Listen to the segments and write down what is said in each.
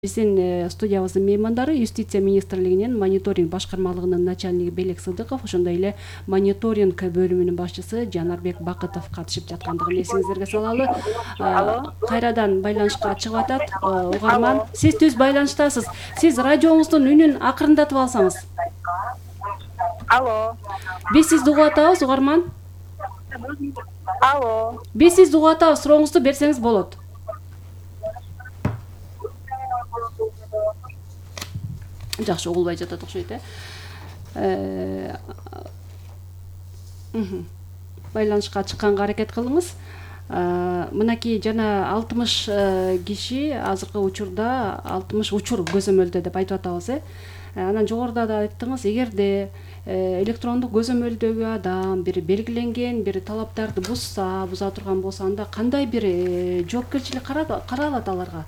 Биздин студиябыздын меймандары Юстиция министрлигинин мониторинг башкармалыгынын начальниги Белек Сыдыков, ошондой эле мониторинг бөлүмүнүн башчысы Жанарбек Бакытов катышып жаткандыгын эсиңиздерге салалы. Кайрадан байланышка чыгып атат. Угарман, сиз түз байланыштасыз. Сиз радиоңуздун үнүн акырындатып алсаңыз. Алло. Биз сизди угуп атабыз, угарман. Алло. Биз сизди угуп атабыз, сурооңузду берсеңиз болот. Жакшы, угулбай жатат окшойт, Байланышка чыкканга аракет кылыңыз. Мынакей жана 60 киши азыркы учурда 60 учур көзөмөлдө деп айтып атабыз, Анан жогоруда да айттыңыз, эгерде электрондук көзөмөлдөгү адам бир белгиленген бир талаптарды буза турган болсо, анда кандай бир жоопкерчилик каралат аларга?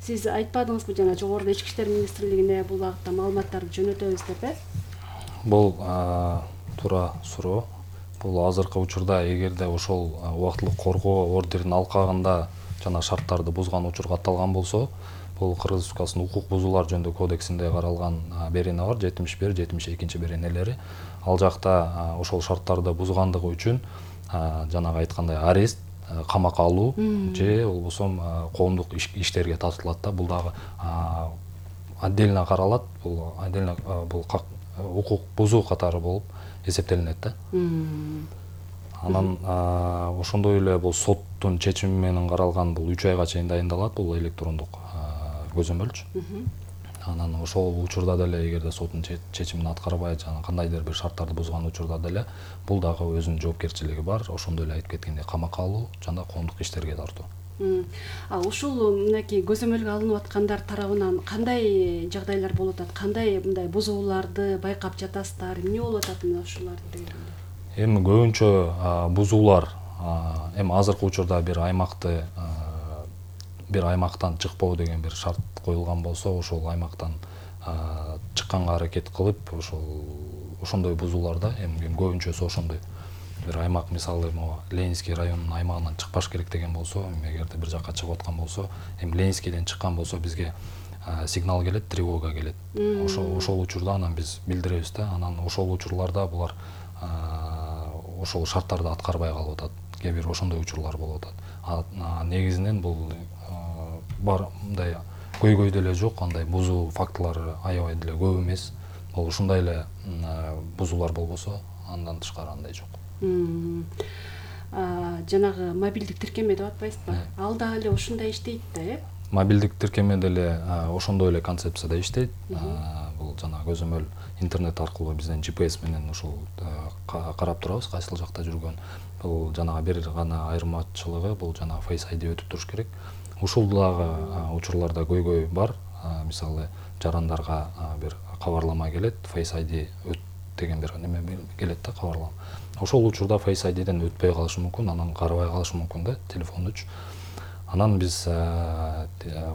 Сиз айтпадыңызбы жана жогоруда Ички иштер министрлигине бул багытта маалыматтарды жөнөтөбүз деп, Бул туура суроо. Бул азыркы учурда эгерде ошол убактылык коргоо ордерин алкагында жана шарттарды бузган учур катталган болсо, бул Кыргыз Республикасынын укук бузуулар жөнүндө кодексинде каралган берене бар, 71-72 беренелери. Ал жакта ошол шарттарды бузгандыгы үчүн жанагы айткандай арест, камакка алуу же болбосо коомдук иштерге тартылат да. Бул дагы отдельно каралат. Бул отдельно бул укук бузуу катары болуп эсептелинет да. Анан ошондой эле бул соттун чечими менен каралган бул 3 айга чейин дайындалат бул электрондук көзөмөлчү. Анан ошол учурда деле эгерде соттун чечимин аткарбай жана кандайдыр бир шарттарды бузган учурда деле бул дагы өзүнүн жоопкерчилиги бар. Ошондой эле айтып кеткендей камакка алуу жана коомдук иштерге тартуу. Ушул мынакей көзөмөлгө алынып аткандар тарабынан кандай жагдайлар болуп атат? Кандай мындай бузууларды байкап жатасыздар? Эмне болуп атат мына ушуларды дегенде? Эми көбүнчө бузуулар эми азыркы учурда бир аймактан чыкпоо деген бир шарт коюлган болсо, ошол аймактан чыкканга аракет кылып, ошондой бузууларда эми көбүнчөсү ошондой. Бир аймак, мисалы, Ленинский районунун аймагынан чыкпаш керек деген болсо, эгерде бир жакка чыгып аткан болсо, эми Ленинскийден чыккан болсо бизге сигнал келет, тревога келет. Ошол учурда анан биз билдиребиз да. Анан ошол учурларда булар ошол шарттарды аткарбай калып атат. Кээ бир ошондой учурлар болуп атат. Негизинен бул бар мындай көйгөй деле жок, андай бузуу фактылары аябай деле көп эмес. Бул ушундай эле бузуулар болбосо, андан тышкары андай жок. Жанагы мобилдик тиркеме деп атпайсызбы? Ал да эле ушундай иштейт да, Мобилдик тиркеме деле ошондой эле концепцияда иштейт. Бул жана көзөмөл интернет аркылуу бизден GPS менен ушул карап турабыз, кайсыл жакта жүргөн. Бул жанагы бир гана айырмачылыгы, бул жанагы Face ID өтүп туруш керек. Ушул дагы учурларда көйгөй бар. Мисалы, жарандарга бир кабарлама келет, Face ID өт деген бир неме келет да, кабарлама. Ошол учурда Face IDден өтпөй калышы мүмкүн, анан карабай калышы мүмкүн да, телефондучу. Анан биз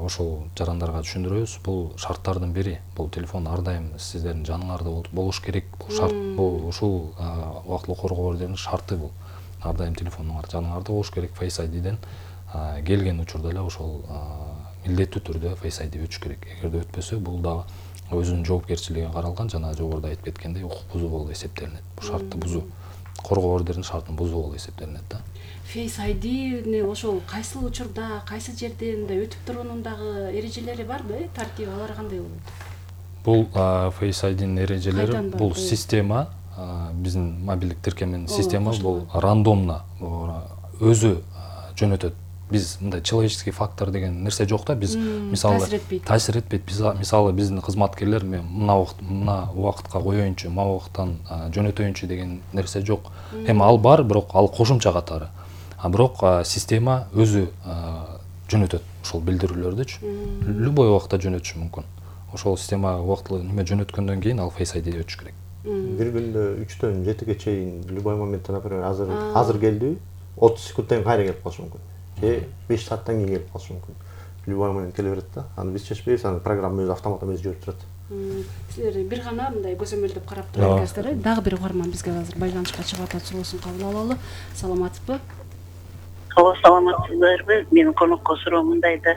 ошол жарандарга түшүндүрөбүз, бул шарттардын бири. Бул телефон ар дайым сиздердин жаныңарда болуш керек. Бул шарт, бул ушул убактылык коргоо ордеринин шарты бул. Ар дайым телефонуңар жаныңарда болуш керек. Face IDден келген учурда эле ошол милдеттүү түрдө Face ID өтүш керек. Эгерде өтпөсө, бул дагы өзүнүн жоопкерчилиги каралган, жана жогоруда айтып кеткендей, укук бузуу болуп эсептелинет. Бул шартты бузуу. Коргоо ордеринин шартын бузуу болуп эсептелинет да. Face IDни ошол кайсыл учурда, кайсы жерде мындай өтүп туруунун дагы эрежелери барбы, тартиби, алар кандай болот? Бул Face IDнин эрежелери, бул система, биздин мобилдик тиркеменин системасы бул рандомно өзү жөнөтөт. Биз мындай человеческий фактор деген нерсе жок да. Биз мисалы таасир этпейт. Мисалы биздин кызматкерлер мен мына убакытка коеюнчу, мына убакыттан жөнөтөйүнчү деген нерсе жок. Эми ал бар, бирок ал кошумча катары. Бирок система өзү жөнөтөт ошол билдирүүлөрдүчү. Любой убакта жөнөтүшү мүмкүн. Ошол система убактылуу неме жөнөткөндөн кийин ал Face ID өтүш керек. Бир күндө 3-төн 7-ге чейин любой моментте, например, азыр келди, 30 секундтан кайра келип калышы мүмкүн. 5 сааттан кийин келип калышы мүмкүн. Любой момент келе берет да. Аны биз чечпейбиз, аны программа өзү автоматтан өзү жиберип турат. Силер бир гана мындай көзөмөлдөп карап турат экенсиздер. Дагы бир угарман бизге азыр байланышка чыгып атат, суроосун кабыл алалы. Саламатсызбы? Саламатсыздарбы? Менин конокко суроом мындай да.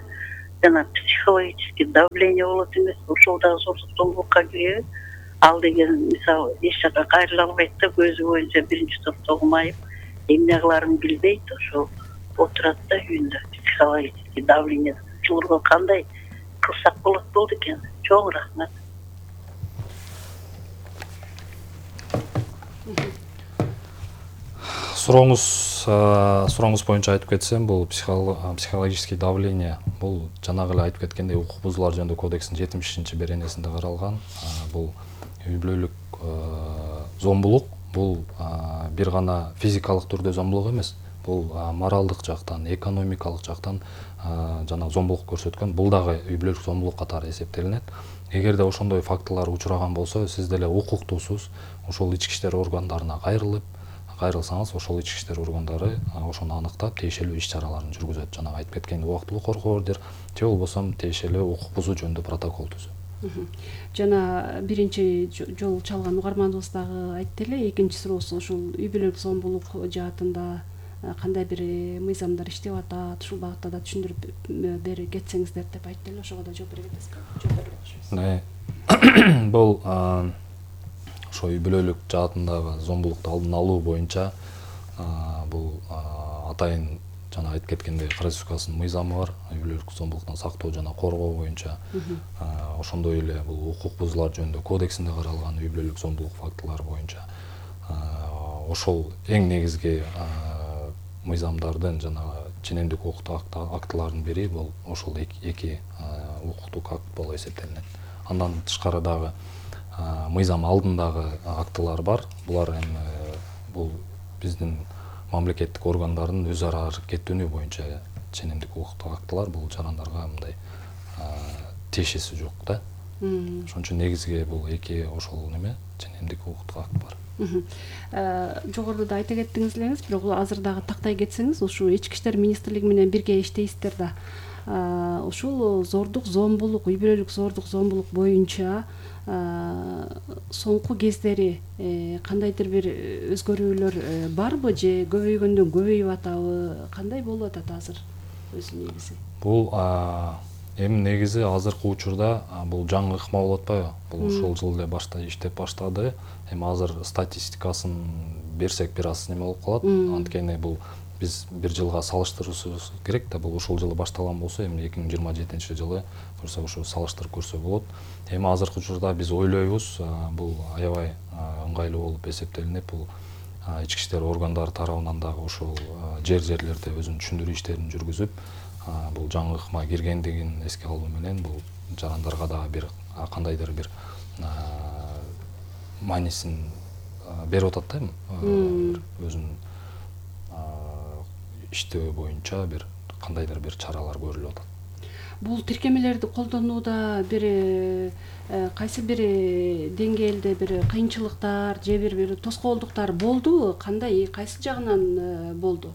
жана психологический давление болот эмес, ошол дагы зордук зомбулукка киреби? Ал деген мисалы эч жака кайрыла албайт да, көзү боюнча биринчи топто окумайып, эмне кыларын билбейт, ошол отурат да үйүндө. Психологический давление учурга кандай кылсак болот болду экен? Чоң рахмат. Сурооңуз боюнча айтып кетсем, бул психологический давление, бул жанагы эле айтып кеткендей укук бузуулар жөнүндө кодекстин 70-беренесинде каралган. Бул үй бүлөлүк зомбулук, бул бир гана физикалык түрдө зомбулук эмес, бул моралдык жактан, экономикалык жактан жана зомбулук көрсөткөн, бул дагы үй бүлөлүк зомбулук катары эсептелинет. Эгерде ошондой фактылар учураган болсо, сиз деле укуктуусуз ошол ички иштер органдарына кайрылсаңыз, ошол ички иштер органдары ошону аныктап, тийиштүү иш чараларын жүргүзөт. Жанагы айтып кеткен убактылуу коргоо ордер, же болбосо тийиштүү укук бузуу жөнүндө протокол түзөт. Жана биринчи жолу чалган угарманыбыз дагы айтты эле, экинчи суроосу ушул үй бүлөлүк зомбулук жаатында кандай бир мыйзамдар иштеп атат, ушул багытта да түшүндүрүп берип кетсеңиздер деп айтты эле, ошого да жооп бере кетесизби? Бул ошо үй бүлөлүк жаатындагы зомбулукту алдын алуу боюнча бул атайын жана айтып кеткендей Конституциянын мыйзамы бар, үй бүлөлүк зомбулуктан сактоо жана коргоо боюнча. Ошондой эле бул укук бузуулар жөнүндө кодексинде каралган үй бүлөлүк зомбулук фактылары боюнча. Ошол эң негизги мыйзамдардын жана ченемдик укуктук актылардын бири бул ошол эки укуктук акт болуп эсептелинет. Андан тышкары дагы мыйзам алдындагы актылар бар. Булар эми бул биздин мамлекеттик органдардын өз ара аракеттенүү боюнча ченемдик укуктук актылар, бул жарандарга мындай тиешеси жок да. Ошон үчүн негизги бул эки ошол неме ченемдик укуктук акт бар. Жогоруда да айта кеттиңиз элеңиз, бирок азыр дагы тактай кетсеңиз, ушул ички иштер министрлиги менен бирге иштейсиздер да. Ушул зордук зомбулук, үй бүлөлүк зордук зомбулук боюнча соңку кездери кандайдыр бир өзгөрүүлөр барбы же көбөйгөндөн көбөйүп атабы? Кандай болуп атат азыр өзү негизи? Бул эми негизи азыркы учурда бул жаңы ыкма болуп атпайбы? Бул ушул жыл эле иштеп баштады. Эми азыр статистикасын берсек бир аз неме болуп калат. Анткени бул биз бир жылга салыштырышыбыз керек да, бул ушул жылы башталган болсо, эми 2027-жылы көрсө ушул салыштырып көрсө болот. Эми азыркы учурда биз ойлойбуз, бул аябай ыңгайлуу болуп эсептелинет. Бул ички иштер органдары тарабынан дагы ушул жерлерде өзүнүн түшүндүрүү иштерин жүргүзүп, бул жаңы ыкма киргендигин эске алуу менен бул жарандарга дагы бир кандайдыр бир маанисин берип атат да, өзүнүн иштөө боюнча бир кандайдыр бир чаралар көрүлүп атат. Бул тиркемелерди колдонууда бир кайсы бир деңгээлде бир кыйынчылыктар же бир тоскоолдуктар болдубу? Кандай, кайсы жагынан болду?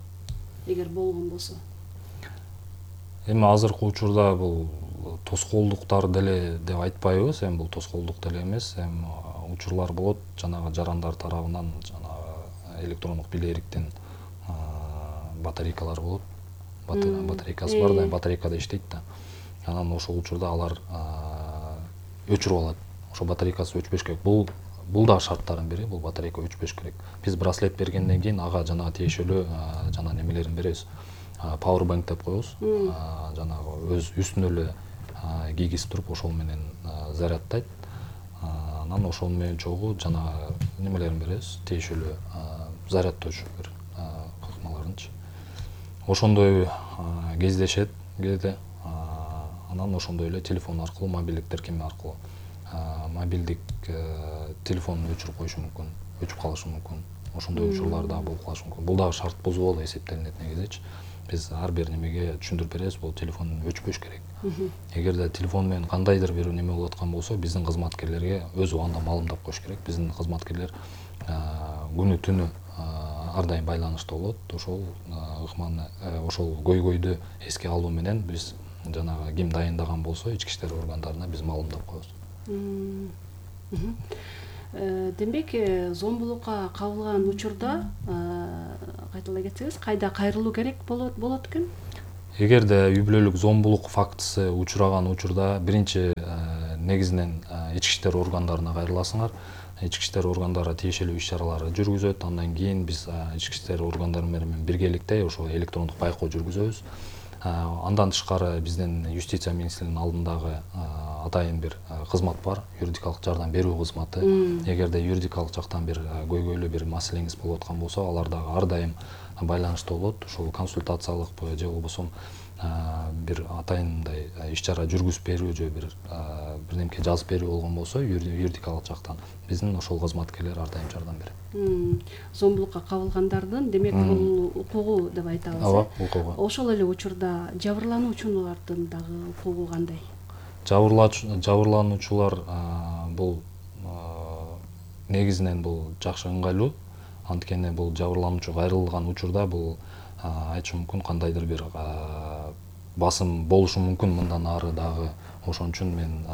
Эгер болгон болсо. Эми азыркы учурда бул тоскоолдуктар деле деп айтпайбыз, эми бул тоскоолдук деле эмес, эми учурлар болот жанагы жарандар тарабынан, жанагы электрондук билериктин батарейкалар болот. Батарейкасы бар да, батарейкада иштейт да. Анан ошол учурда алар өчүрүп алат. Ошол батарейкасы өчпөш керек. Бул дагы шарттардын бири, бул батарейка өчпөш керек. Биз браслет бергенден кийин ага жана тиешелүү жана немелерин беребиз. Powerbank деп коебуз. Жанагы өз үстүнө эле кийгизип туруп ошол менен заряддайт. Анан ошол менен чогуу жана немелерин беребиз, тиешелүү зарядтоочу бир кыкмаларынчы. Ошондой кездешет кээде. Анан ошондой эле телефон аркылуу, мобилдик тиркеме аркылуу мобилдик телефонун өчүрүп коюшу мүмкүн, өчүп калышы мүмкүн. Ошондой учурлар дагы болуп калышы мүмкүн. Бул дагы шарт бузуу болуп эсептелинет негизичи. Биз ар бир немеге түшүндүрүп беребиз, бул телефон өчпөш керек. Эгерде телефон менен кандайдыр бир неме болуп аткан болсо, биздин кызматкерлерге өз убагында маалымдап коюш керек. Биздин кызматкерлер күнү түнү ар дайым байланышта болот. Ошол ыкманы, ошол көйгөйдү эске алуу менен биз жанагы ким дайындаган болсо, ички иштер органдарына биз маалымдап коебуз. Демек, зомбулукка кабылган учурда кайталай кетсеңиз, кайда кайрылуу керек болот экен? Эгерде үй бүлөлүк зомбулук фактысы учураган учурда биринчи негизинен ички иштер органдарына кайрыласыңар. Ички иштер органдары тиешелүү иш-чараларды жүргүзөт. Андан кийин биз ички иштер органдары менен биргеликте ошо электрондук байкоо жүргүзөбүз. Андан тышкары биздин юстиция министрлигинин алдындагы атайын бир кызмат бар, юридикалык жардам берүү кызматы. Эгерде юридикалык жактан бир көйгөйлүү бир маселеңиз болуп аткан болсо, алар дагы ар дайым байланышта болот. Ошол консультациялык же болбосо бир атайындай иш-чара жүргүзүп берүү же бирдемке жазып берүү болгон болсо, юридикалык жактан биздин ошол кызматкерлер ар дайым жардам берет. Зомбулукка кабылгандардын демек бул укугу деп айтабыз. Ооба, укугу. Ошол эле учурда жабырлануучулардын дагы укугу кандай? Жабырлануучулар бул негизинен бул жакшы ыңгайлуу. Анткени бул жабырлануучу кайрылган учурда бул айтышым мүмкүн кандайдыр бир басым болушу мүмкүн мындан ары дагы. Ошон үчүн мен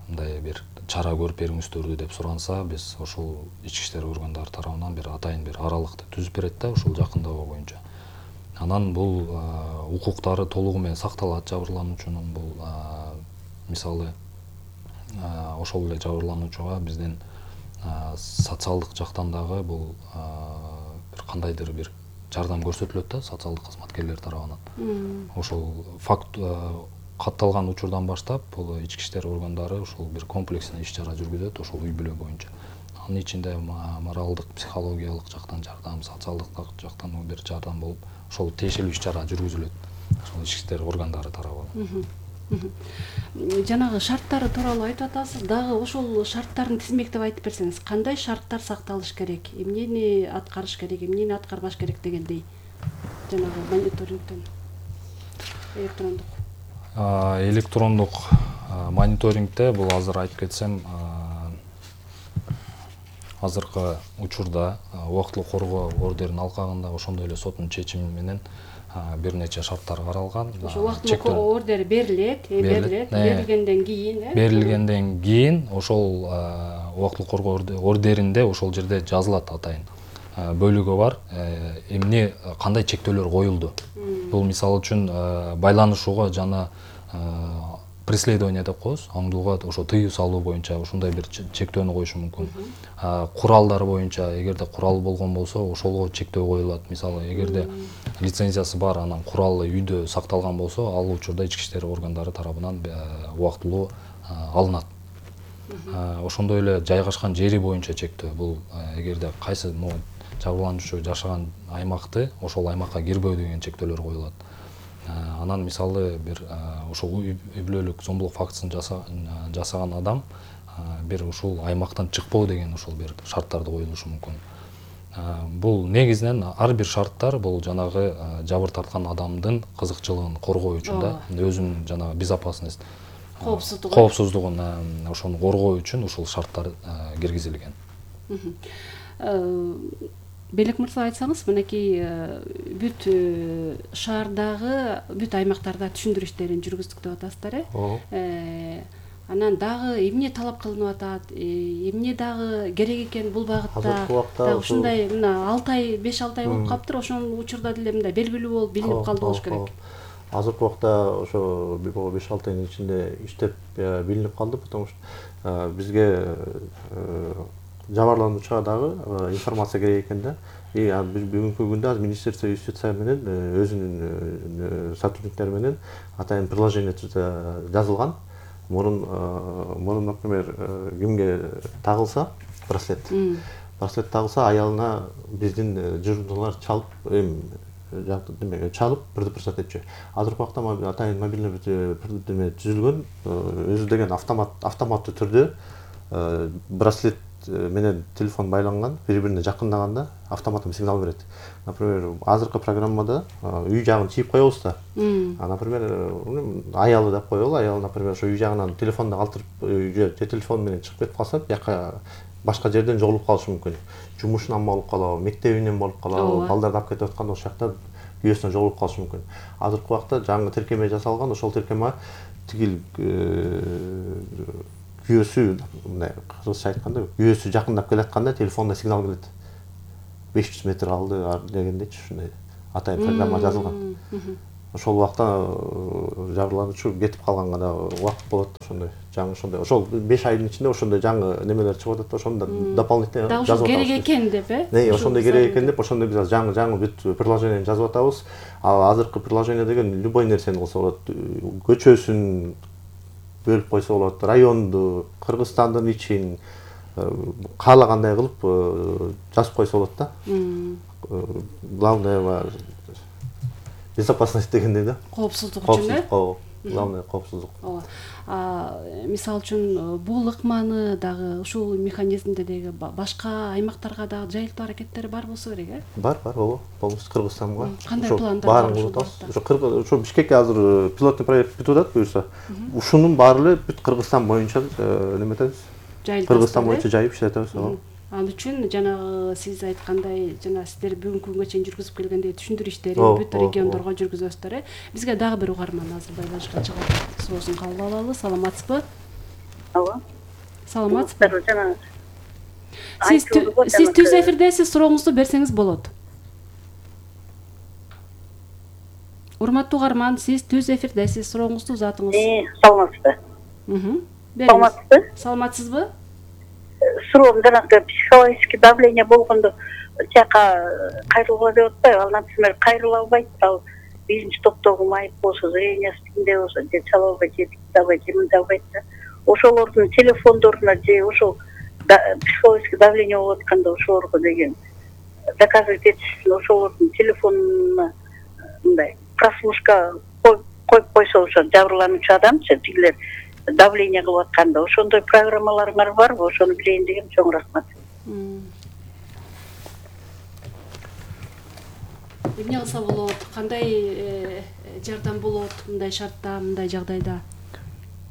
мындай бир чара көрүп бериңиздерди деп суранса, биз ошол ички иштер органдары тарабынан бир атайын бир аралыкты түзүп берет да, ошол жакындоо боюнча. Анан бул укуктары толугу менен сакталат жабырлануучунун. Бул мисалы ошол эле жабырлануучуга биздин социалдык жактан дагы бул бир кандайдыр бир жардам көрсөтүлөт да социалдык кызматкерлер тарабынан. Ошол факт катталган учурдан баштап бул ички иштер органдары ошол бир комплекстик иш-чара жүргүзөт ошол үй бүлө боюнча. Анын ичинде моралдык, психологиялык жактан жардам, социалдык жактан бир жардам болуп, ошол тиешелүү иш-чара жүргүзүлөт ошол ички иштер органдары тарабынан. Жанагы шарттары тууралуу айтып атасыз, дагы ошол шарттарын тизмектеп айтып берсеңиз, кандай шарттар сакталыш керек, эмнени аткарыш керек, эмнени аткарбаш керек дегендей, жанагы мониторингден электрондук мониторингде бул азыр айтып кетсем, азыркы учурда убактылуу коргоо ордерин алкагында ошондой эле соттун чечими менен бир нече шарттар каралган. Ошо убактылуу ордер берилгенден кийин ошол убактылуу коргоо ордеринде ошол жерде жазылат атайын бөлүгү бар, эмне кандай чектөөлөр коюлду. Бул мисалы үчүн байланышууга жана преследование деп коебуз, аңдууга ошо тыюу салуу боюнча ошондой бир чектөөнү коюшу мүмкүн. Куралдар боюнча эгерде курал болгон болсо, ошолго чектөө коюлат. Мисалы, эгерде лицензиясы бар, анан куралы үйдө сакталган болсо, ал учурда ички иштер органдары тарабынан убактылуу алынат. Ошондой эле жайгашкан жери боюнча чектөө. Бул эгерде кайсы жабырлануучу жашаган аймакты, ошол аймакка кирбөө деген чектөөлөр коюлат. Анан мисалы бир ошол үй бүлөлүк зомбулук фактысын жасаган адам бир ушул аймактан чыкпоо деген ошол бир шарттарды коюлушу мүмкүн. Бул негизинен ар бир шарттар бул жанагы жабыр тарткан адамдын кызыкчылыгын коргоо үчүн да, өзүнүн жанагы безопасность, коопсуздугун ошону коргоо үчүн ушул шарттар киргизилген. Белек мырза, айтсаңыз, мынакей бүт шаардагы, бүт аймактарда түшүндүрүштерин жүргүздүк деп атасыздар, анан дагы эмне талап кылынып атат, эмне дагы керек экен бул багытта, дагы ушундай мына 5-6 ай болуп калыптыр, ошол учурда деле мындай белгилүү болуп билинип калды болуш керек. Азыркы убакта ошо 5-6 айдын ичинде иштеп билинип калды, потому что бизге жабырлануучуга дагы информация керек экен да. Биз бүгүнкү күндө азыр Министерство юстиция менен өзүнүн сотрудниктери менен атайын приложение жазылган. Мурун, например, кимге тагылса браслет тагылса, аялына биздин журналар чалып предупреждать этчү. Азыркы убакта атайын мобильный түзүлгөн, өзү деген автоматтуу түрдө браслет менен телефон байланган, бири-бирине жакындаганда автоматтуу сигнал берет. Например, азыркы программада үй жагын чийип коебуз да. Например, аялы деп коелу, аял, например, ошо үй жагынан телефонду калтырып, же телефон менен чыгып кетип калса, бияка башка жерден жоголуп калышы мүмкүн. Жумушунан болуп калабы, мектебинен болуп калабы, балдарды алып кетип атканда ошол жакта күйөөсүнөн жоголуп калышы мүмкүн. Азыркы убакта жаңы тиркеме жасалган, ошол тиркеме тигил күйөөсү, мындай кыргызча айтканда, күйөөсү жакындап келатканда телефонда сигнал келет. 500 метр алды дегендечи, ушундай атайын программа жазылган. ошол убакта жабырлануучу кетип калганга да убакыт болот, ошондой жаңы ошондой ошол 5 айдын ичинде ошондой жаңы немелер чыгып атат да, ошону да дополнительно дагы жазып ушул атабыз. керек экен деп, Ошондой керек экен деп, ошондой биз жаңы бүт приложениени жазып атабыз. Азыркы приложение деген любой нерсени кылса болот. Көчөсүн бөлүп койсо болот, районду, Кыргызстандын ичин каалагандай кылып жазып койсо болот да. Главное безопасность дегендей да. Коопсуздук үчүн, Главное коопсуздук. ооба. Мисалы үчүн бул ыкманы дагы ушул механизмди деги башка аймактарга дагы жайылтуу аракеттери бар болсо керек, Бар, ооба. Полностью Кыргызстанга. Кандай пландар баарын кылып атабыз. Ошо Бишкекке азыр пилоттук проект бүтүп атат буюрса. Ушунун баары эле бүт Кыргызстан боюнча неметебиз. Кыргызстан боюнча жайып иштетебиз. Ал үчүн жанагы сиз айткандай, жана сиздер бүгүнкү күнгө чейин жүргүзүп келгендей түшүндүрүү иштерин бүт региондорго жүргүзөсүздөр. Бизге дагы бир угарман азыр байланышка чыгат. Суроосун кабыл алалы. Саламатсызбы? Алло. Саламатсызбы? Жана Сиз түз эфирдесиз, сурооңузду берсеңиз болот. Урматтуу угарман, сиз түз эфирдесиз, сурооңузду узатыңыз. Саламатсызбы? Саламатсызбы? Саламатсызбы? Суроом жанагы психологический давление болгондо тияка кайрылгыла деп атпайбы? Ал, например, кайрыла албайт, ал биринчи топтогу майып болсо, зрениясы тигиндей болсо, же чала албайт, же тикти албайт, же мындай албайт да. Ошолордун телефондоруна же ошол психологический давление болуп атканда ошолорго деген доказывать этишсин, ошолордун телефонуна мындай прослушка коюп койсо, ошо жабырлануучу адамчы тигилер давление кылып атканда ошондой программаларыңар барбы? Ошону билейин дегем. Чоң рахмат. Эмне кылса болот? Кандай жардам болот мындай шартта, мындай жагдайда?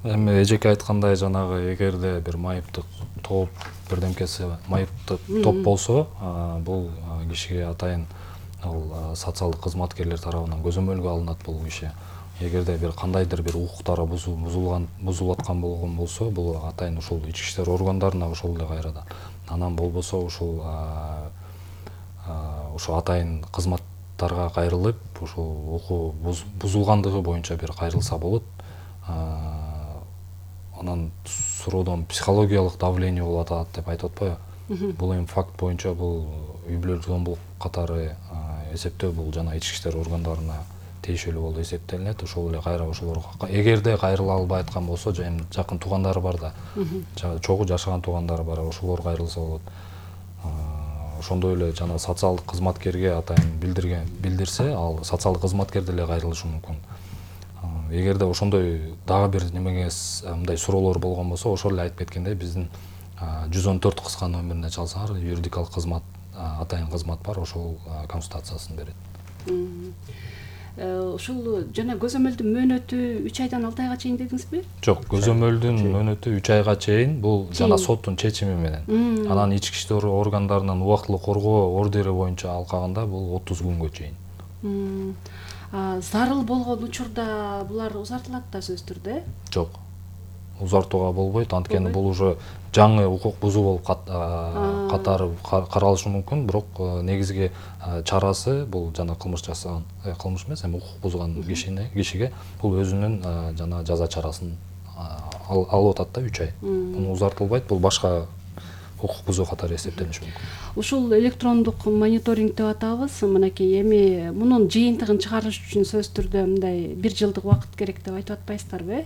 Эми эжеке айткандай, жанагы эгерде бир майыптык топ, бирдемкеси майыптык топ болсо, бул кишиге атайын ал социалдык кызматкерлер тарабынан көзөмөлгө алынат бул киши. Эгерде бир кандайдыр бир укуктары бузулуп аткан болгон болсо, бул атайын ушул ички иштер органдарына ошол эле кайрадан. Анан болбосо ушул атайын кызматтарга кайрылып, ушул укук бузулгандыгы боюнча бир кайрылса болот. Анан суроодон психологиялык давление болуп атат деп айтып атпайбы? Бул эми факт боюнча бул үй бүлөлүк зомбулук катары эсептөө бул жана ички иштер органдарына тийишелүү болуп эсептелинет. Ошол эле кайра ошолорго эгерде кайрыла албай аткан болсо, эми жакын туугандары бар да, чогуу жашаган туугандары бар, ошолор кайрылса болот. Ошондой эле жана социалдык кызматкерге атайын билдирсе, ал социалдык кызматкер деле кайрылышы мүмкүн. Эгерде ошондой дагы бир немеге мындай суроолор болгон болсо, ошол эле айтып кеткендей, биздин 114 кыска номерине чалсаңар, юридикалык кызмат, атайын кызмат бар, ошол консультациясын берет. Ушул жана көзөмөлдүн мөөнөтү 3 айдан 6 айга чейин дедиңизби? Жок, көзөмөлдүн мөөнөтү 3 айга чейин, бул жана соттун чечими менен. Анан ички иштер органдарынын убактылуу коргоо ордери боюнча алкаганда бул 30 күнгө чейин. Зарыл болгон учурда булар узартылат да сөзсүз түрдө? Жок. Узартууга болбойт, анткени бул уже жаңы укук бузуу болуп катары каралышы мүмкүн, бирок негизги чарасы бул жана кылмыш жасаган, кылмыш эмес, эми укук бузган кишиге бул өзүнүн жана жаза чарасын алып атат да 3 ай. Буну узартылбайт, бул башка укук бузуу катары эсептелиши мүмкүн. Ушул электрондук мониторинг деп атабыз, мынакей эми мунун жыйынтыгын чыгарыш үчүн сөзсүз түрдө мындай 1 жылдык убакыт керек деп айтып атпайсыздарбы?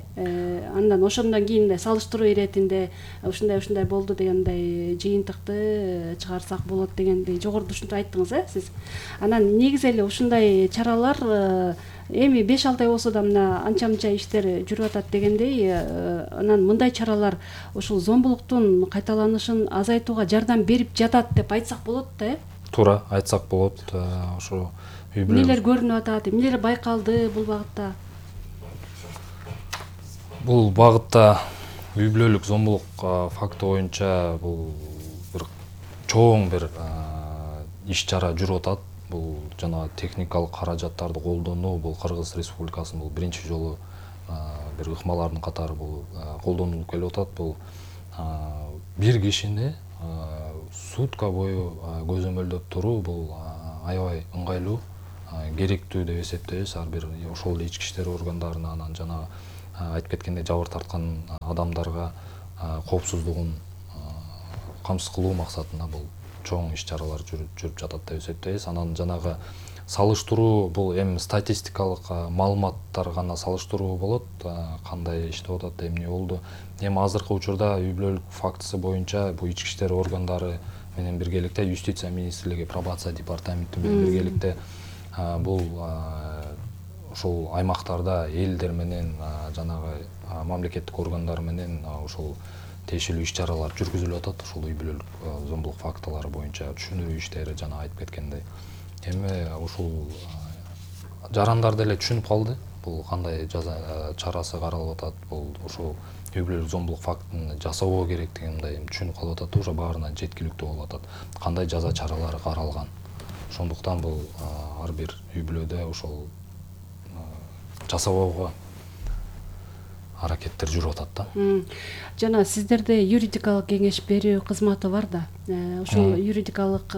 Андан ошондон кийин салыштыруу иретинде ушундай болду дегендей жыйынтыкты чыгарсак болот дегендей жогоруда ушинтип айттыңыз, сиз. Анан негизи эле ушундай чаралар эми 5-6 ай болсо да мына анча-мынча иштер жүрүп атат дегендей, анан мындай чаралар ушул зомбулуктун кайталанышын азайтууга жардам берип жатат деп айтсак болот да, Туура айтсак болот. Ошо эмнелер көрүнүп атат, эмнелер байкалды бул багытта? Бул багытта үй бүлөлүк зомбулук факты боюнча бул бир чоң бир иш-чара жүрүп атат. Бул жана техникалык каражаттарды колдонуу, бул Кыргыз Республикасынын бул биринчи жолу бир ыкмалардын катары бул колдонулуп келип атат. Бул бир кишини сутка бою көзөмөлдөп туруу бул аябай ыңгайлуу, керектүү деп эсептейбиз. Ар бир ошол эле ички иштер органдарына, анан жана айтып кеткендей жабыр тарткан адамдарга коопсуздугун камсыз кылуу максатында бул чоң иш-чаралар жүрүп жатат деп эсептейбиз. Анан жанагы салыштыруу, бул эми статистикалык маалыматтар гана салыштыруу болот, кандай иштеп атат, эмне болду. Эми азыркы учурда үй бүлөлүк фактысы боюнча бул ички иштер органдары менен биргеликте юстиция министрлиги, пробация департаменти менен биргеликте бул ошол аймактарда элдер менен жанагы мамлекеттик органдар менен ошол тиешелүү иш-чаралар жүргүзүлүп атат. Ошол үй бүлөлүк зомбулук фактылары боюнча түшүндүрүү иштери жана айтып кеткендей. Эми ушул жарандар деле түшүнүп калды. Бул кандай жаза чарасы каралып атат, бул ошол үй бүлөлүк зомбулук фактын жасабоо керектигин мындай түшүнүп калып атат, уже баарына жеткиликтүү болуп атат. Кандай жаза чаралары каралган. Ошондуктан бул ар бир үй бүлөдө ошол жасабоого аракеттер жүрүп атат да. Жана сиздерде юридикалык кеңеш берүү кызматы бар да. Ошол юридикалык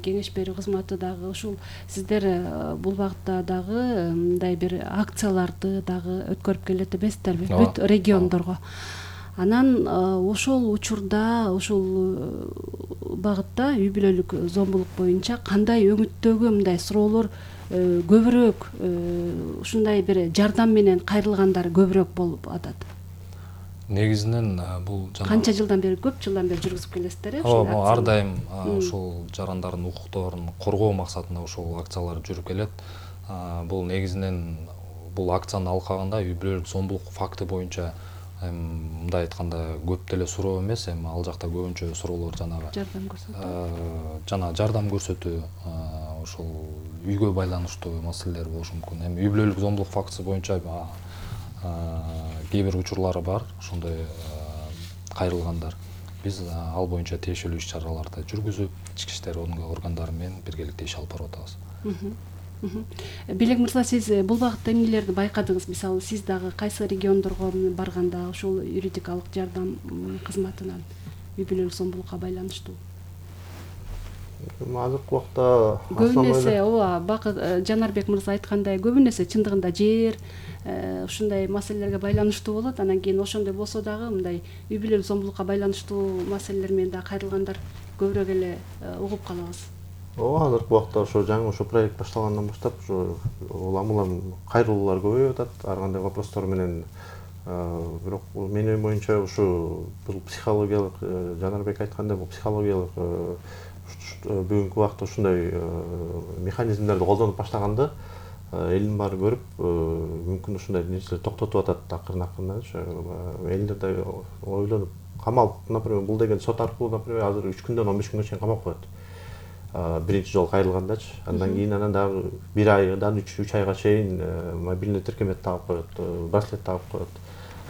кеңеш берүү кызматы дагы ушул сиздер бул багытта дагы мындай бир акцияларды дагы өткөрүп келет эмессиздерби бүт региондорго. Анан ошол учурда ушул багытта үй бүлөлүк зомбулук боюнча кандай өңүттөгү мындай суроолор көбүрөөк ушундай бир жардам менен кайрылгандар көбүрөөк болуп атат? Негизинен бул канча жылдан бери, көп жылдан бери жүргүзүп келесиздер э? Ооба, ар дайым ошол жарандардын укукторун коргоо максатында ошол акциялар жүрүп келет. Бул негизинен бул акциянын алкагында үй бүлөлүк зомбулук факты боюнча мындай айтканда көп деле суроо эмес, эми ал жакта көбүнчө суроолор жанагы жардам көрсөтүү, жана жардам көрсөтүү, ошол үйгө байланыштуу маселелер болушу мүмкүн. Эми үй бүлөлүк зомбулук фактысы боюнча кээ бир учурлары бар, ошондой кайрылгандар. Биз ал боюнча тиешелүү иш-чараларды жүргүзүп, ички иштер органдары менен биргеликте иш алып барып атабыз. Белек мырза, сиз бул багытта эмнелерди байкадыңыз? Мисалы, сиз дагы кайсы региондорго барганда ошол юридикалык жардам кызматынан үй бүлөлүк зомбулукка байланыштуу? Азыркы убакта Көбүн эсе Бакыт Жанарбек мырза айткандай, көбүн эсе чындыгында жер ушундай маселелерге байланыштуу болот. Анан кийин ошондой болсо дагы мындай үй бүлөлүк зомбулукка байланыштуу маселелер менен да кайрылгандар көбүрөөк эле угуп калабыз. Ооба, азыркы убакта ошо жаңы ошо проект башталгандан баштап ошо улам кайрылуулар көбөйүп атат, ар кандай вопростор менен. Бирок менин оюм боюнча ушу бул психологиялык, Жанарбек айткандай, бул психологиялык бүгүнкү убакта ушундай механизмдерди колдонуп баштаганда элдин баары көрүп, мүмкүн ушундай нерселер токтотуп атат акырын-акырындачы. Элдер да ойлонуп камалып, например, бул деген сот аркылуу, например, азыр 3 күндөн 15 күнгө чейин камап коет. Биринчи жолу кайрылгандачы. Андан кийин анан дагы 1 айдан 3 айга чейин мобильный тиркемет тагып коет, браслет тагып коет.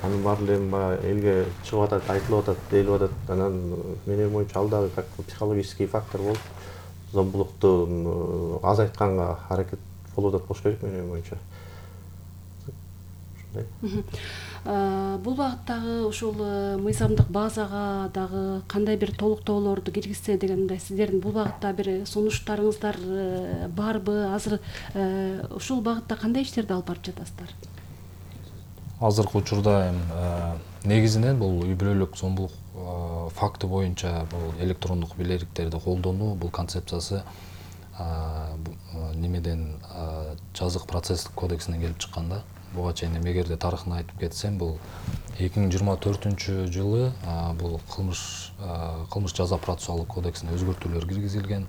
Анын баары эле элге чыгып атат, айтылып атат, дейилип атат. Анан менин боюнча ал дагы как психологический фактор болуп, зомбулукту азайтканга аракет болуп атат болуш керек менин боюнча. Ушундай. Бул багыттагы ушул мыйзамдык базага дагы кандай бир толуктоолорду киргизсе деген мындай сиздердин бул багытта бир сунуштарыңыздар барбы? Азыр ушул багытта кандай иштерди алып барып жатасыздар? Азыркы учурда негизинен бул үй бүлөлүк зомбулук факты боюнча бул электрондук бийлериктерди колдонуу, бул концепциясы немеден жазык процесстик кодексинен келип чыккан да. Буга чейин эгерде тарыхын айтып кетсем, бул 2024-жылы бул кылмыш жаза процессуалдык кодексине өзгөртүүлөр киргизилген.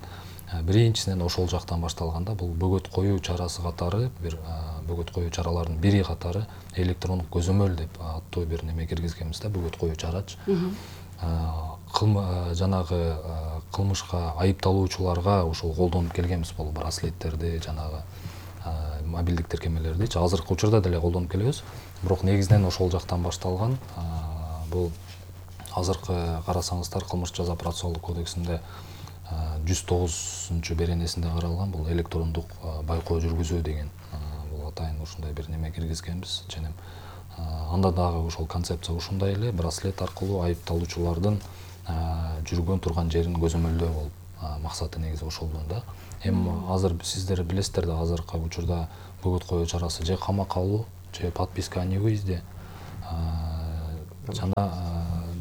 Биринчисинен ошол жактан башталганда бул бөгөт коюу чарасы катары, бир бөгөт коюу чараларынын бири катары электрондук көзөмөл деп аттуу бир неме киргизгенбиз да, бөгөт коюу чарачы. Жанагы кылмышка айыпталуучуларга ошол колдонуп келгенбиз, бул браслеттерди, жанагы мобилдик тиркемелердичи. Азыркы учурда деле колдонуп келебиз. Бирок негизинен ошол жактан башталган. Бул азыркы карасаңыздар кылмыш жаза процессуалдык кодексинде 109 беренесинде каралган, бул электрондук байкоо жүргүзүү деген бул атайын ушундай бир неме киргизгенбиз. Ченем анда дагы ошол концепция ушундай эле, браслет аркылуу айыпталуучулардын жүргөн турган жерин көзөмөлдөө болуп, максаты негизи ошол да. Эми азыр сиздер билесиздер да, азыркы учурда бөгөт коюу чарасы же камакка алуу, же подписка о невыезде, жана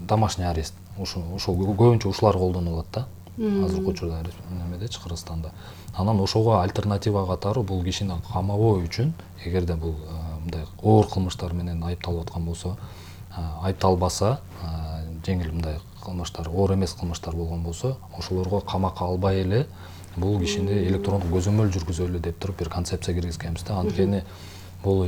домашний арест. Ушул көбүнчө ушулар колдонулат да азыркы учурда немедечи, Кыргызстанда. Анан ошого альтернатива катары бул кишини камабоо үчүн, эгерде бул мындай оор кылмыштар менен айыпталып аткан болсо, айыпталбаса, жеңил мындай кылмыштар, оор эмес кылмыштар болгон болсо, ошолорго камакка албай эле бул кишини электрондук көзөмөл жүргүзөлү деп туруп бир концепция киргизгенбиз да. Анткени бул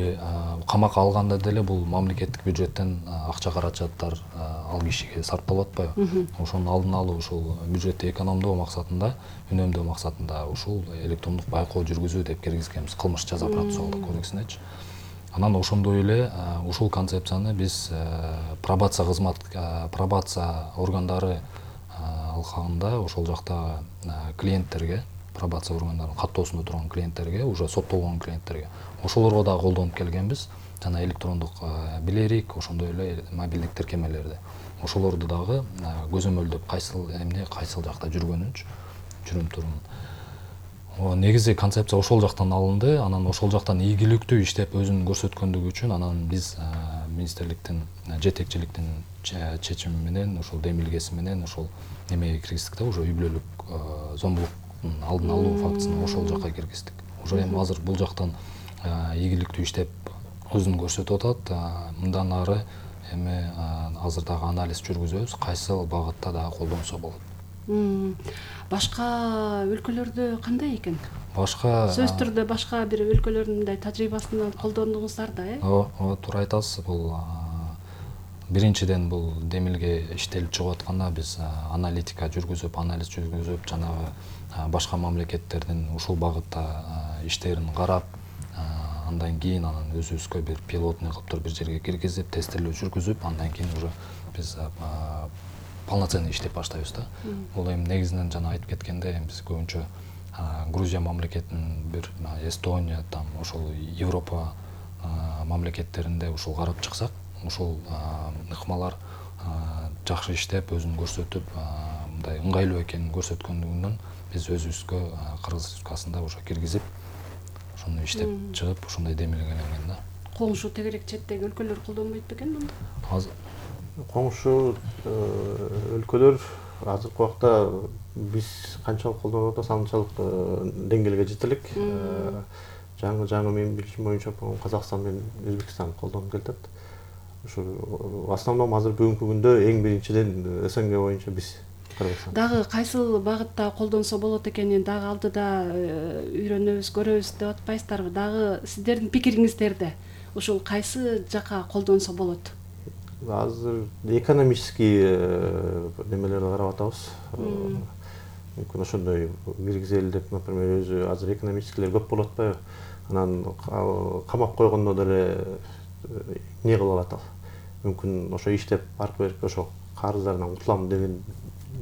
камакка алганда деле бул мамлекеттик бюджеттен акча каражаттар ал кишиге сарпталып атпайбы? Ошонун алдын алуу, ушул бюджетти экономдоо максатында, үнөмдөө максатында ушул электрондук байкоо жүргүзүү деп киргизгенбиз кылмыш жаза процессуалдык кодексинечи. Анан ошондой эле ушул концепцияны биз пробация органдары алкагында ошол жакта клиенттерге, пробация органдарынын каттоосунда турган клиенттерге, уже соттолгон клиенттерге, ошолорго дагы колдонуп келгенбиз. Жана электрондук билерик, ошондой эле мобилдик тиркемелерди. Ошолорду дагы көзөмөлдөп кайсыл эмне кайсыл жакта жүргөнүнчү жүрүм турум. Негизи концепция ошол жактан алынды. Анан ошол жактан ийгиликтүү иштеп өзүн көрсөткөндүгү үчүн анан биз министрликтин жетекчиликтин чечими менен, ошол демилгеси менен ошол немеге киргиздик да, уже үй бүлөлүк зомбулуктун алдын алуу фактысын ошол жакка киргиздик. Уже эми азыр бул жактан ийгиликтүү иштеп өзүн көрсөтүп атат. Мындан ары эми азыр дагы анализ жүргүзөбүз, кайсыл багытта дагы колдонсо болот. Башка өлкөлөрдө кандай экен? Башка сөзсүз түрдө башка бир өлкөлөрдүн мындай тажрыйбасынан колдондуңуздар да, ооба, туура айтасыз. Бул биринчиден бул демилге иштелип чыгып атканда биз аналитика жүргүзүп, анализ жүргүзүп, жанагы башка мамлекеттердин ушул багытта иштерин карап, андан кийин анан өзүбүзгө бир пилотный кылып туруп бир жерге киргизип, тестилөө жүргүзүп, андан кийин уже биз полноценный иштеп баштайбыз да. Бул эми негизинен жана айтып кеткендей, биз көбүнчө Грузия мамлекетинин, бир Эстония, там ошол Европа мамлекеттеринде ушул карап чыксак, ушул ыкмалар жакшы иштеп, өзүн көрсөтүп, мындай ыңгайлуу экенин көрсөткөндүгүнөн биз өзүбүзгө Кыргыз Республикасында уже киргизип, ошону иштеп чыгып, ошондой демилгеленген да. Коңшу тегерек четтеги өлкөлөр колдонбойт бекен мынды? Коңшу өлкөлөр азыркы убакта биз канчалык колдонуп атабыз, анчалык деңгээлге жете элек. Жаңы менин билишим боюнча Казакстан менен Өзбекстан колдонуп келатат. Ошо в основном азыр бүгүнкү күндө эң биринчиден СНГ боюнча биз Кыргызстан. Дагы кайсыл багытта колдонсо болот экенин дагы алдыда үйрөнөбүз, көрөбүз деп атпайсыздарбы? Дагы сиздердин пикириңиздерде ушул кайсы жака колдонсо болот? Азыр экономический немелерди карап атабыз. Мүмкүн ошондой киргизели деп, например, өзү азыр экономическийлер көп болуп атпайбы? Анан камап койгондо деле не кылып атат. Мүмкүн ошо иштеп аркы берки ошо карыздарынан кутулам деген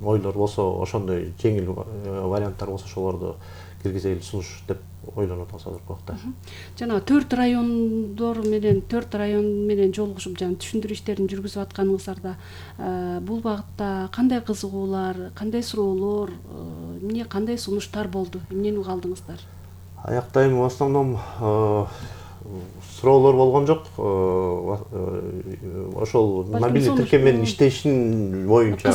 ойлор болсо, ошондой жеңил варианттар болсо ошолорду киргизели сунуш деп ойлонуп атабыз азыркы убакта. Жана 4 район менен жолугушуп, жана түшүндүрүү иштерин жүргүзүп атканыңыздарда бул багытта кандай кызыгуулар, кандай суроолор, эмне кандай сунуштар болду? Эмнени уга алдыңыздар? Аякта эми в основном суроолор болгон жок. Ошол мобилдик тиркеменин иштешин боюнча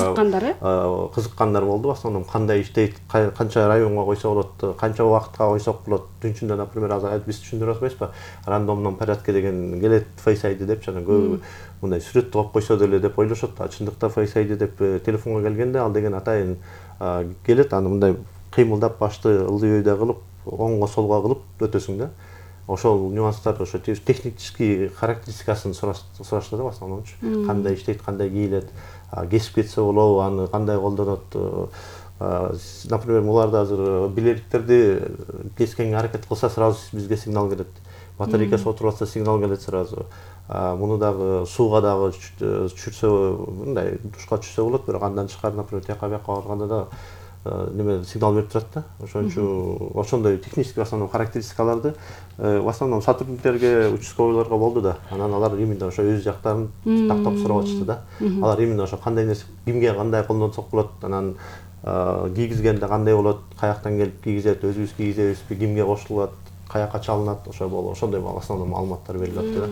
кызыккандар болду. В основном кандай иштейт, канча районго койсо болот, канча убакытка койсок болот. Түн ичинде, например, азыр биз түшүндүрүп атпайбызбы? Рандомном порядке деген келет, Face ID деп, жана көбү мындай сүрөттү коюп койсо деле деп ойлошот. Чындыкта Face ID деп телефонго келгенде ал деген атайын келет, аны мындай кыймылдап башты ылдый-өйдө кылып, оңго солго кылып өтөсүң да. Ошол нюанстар, ошо технический характеристикасын сурашты да в основном. Кандай иштейт, кандай кийилет, кесип кетсе болобу, аны кандай колдонот. Например, буларда азыр билериктерди кескенге аракет кылса, сразу бизге сигнал келет. Батарейкасы отуруп атса, сигнал келет сразу. Муну дагы сууга дагы түшүрсө, мындай душка түшсө болот, бирок андан тышкары, например, тияка бияка барганда да неме сигнал берип турат да. Ошондой технический в основном характеристикаларды в основном сотрудниктерге, участковыйларга болду да. Анан алар именно ошо өз жактарын тактап сурап атышты да. Алар именно ошо кандай нерсе, кимге кандай колдонсок болот, анан кийгизгенде кандай болот, каяктан келип кийгизет, өзүбүз кийгизебизби, кимге кошулат, каяка чалынат, ошондой основной маалыматтар берилип атты да.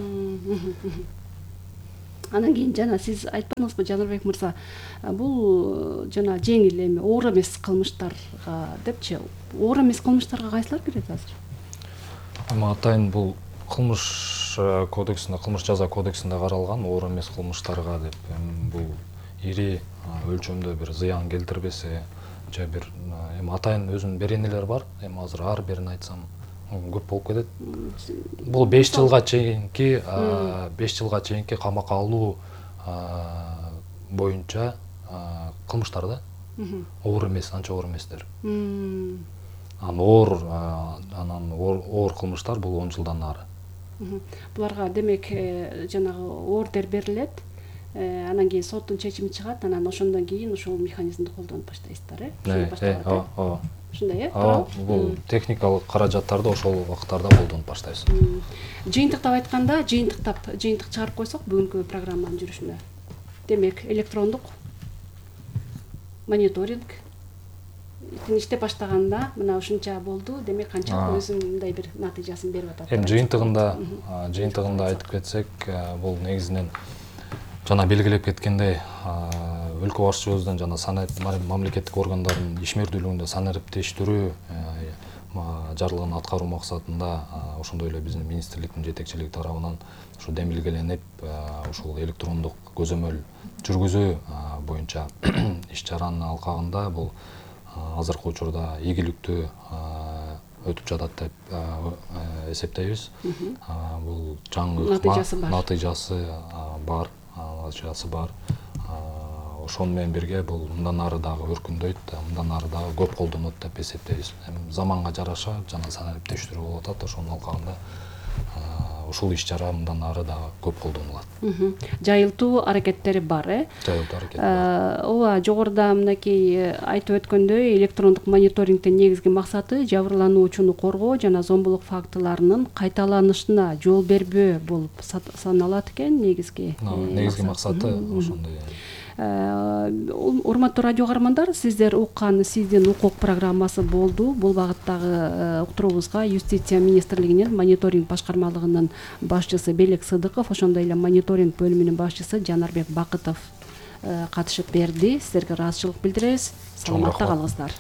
Анан кийин жана сиз айтпадыңызбы, Жанарбек мырза, бул жана жеңил эми оор эмес кылмыштарга депчи, оор эмес кылмыштарга кайсылар кирет азыр? Атайын бул кылмыш кодексинде, кылмыш жаза кодексинде каралган оор эмес кылмыштарга деп, бул ири өлчөмдө бир зыян келтирбесе же бир эми атайын өзүнүн беренелери бар. Эми азыр ар бирин айтсам көп болуп кетет. Бул 5 жылга чейинки камакка алуу боюнча кылмыштар да. Оор эмес, анча оор эместер. Анан оор кылмыштар бул 10 жылдан нары. Буларга демек жанагы ордер берилет, анан кийин соттун чечими чыгат, анан ошондон кийин ошол механизмди колдонуп баштайсыздар, Ооба. Ушундай, Бул техникалык каражаттарды ошол убакыттарда колдонуп баштайбыз. Жыйынтыктап айтканда, жыйынтык чыгарып койсок бүгүнкү программанын жүрүшүнө. Демек, электрондук мониторинг иштеп баштаганда мына ушунча болду, демек канчалык өзүндай бир натыйжасын берип атат. Эми жыйынтыгында айтып кетсек, бул негизинен жана белгилеп кеткендей, өлкө башчыбыздын жана мамлекеттик органдардын ишмердүүлүгүндө санариптештирүү жарлыгын аткаруу максатында ошондой эле биздин министрликтин жетекчилиги тарабынан ушу демилгеленип, ушул электрондук көзөмөл жүргүзүү боюнча иш чаранын алкагында бул азыркы учурда игиликтүү өтүп жатат деп эсептейбиз. Бул жаңы натыйжасы бар. Ошону менен бирге бул мындан ары дагы өркүндөйт, мындан ары дагы көп колдонот деп эсептейбиз. Заманга жараша жана санариптештирүү болуп атат, ошонун алкагында ушул иш чара мындан ары дагы көп колдонулат. Жайылтуу аракеттери бар, Жайылтуу аракети бар. Ооба, жогоруда мынакей айтып өткөндөй, электрондук мониторингдин негизги максаты жабырлануучуну коргоо жана зомбулук фактыларынын кайталанышына жол бербөө болуп саналат экен, негизги максаты ошондой. Урматтуу радио каармандар, сиздер уккан сиздин укук программасы болду. Бул багыттагы уктуруубузга Юстиция министрлигинин мониторинг башкармалыгынын башчысы Белек Сыдыков, ошондой эле мониторинг бөлүмүнүн башчысы Жанарбек Бакытов катышып берди. Сиздерге ыраазычылык билдиребиз. Саламатта калыңыздар.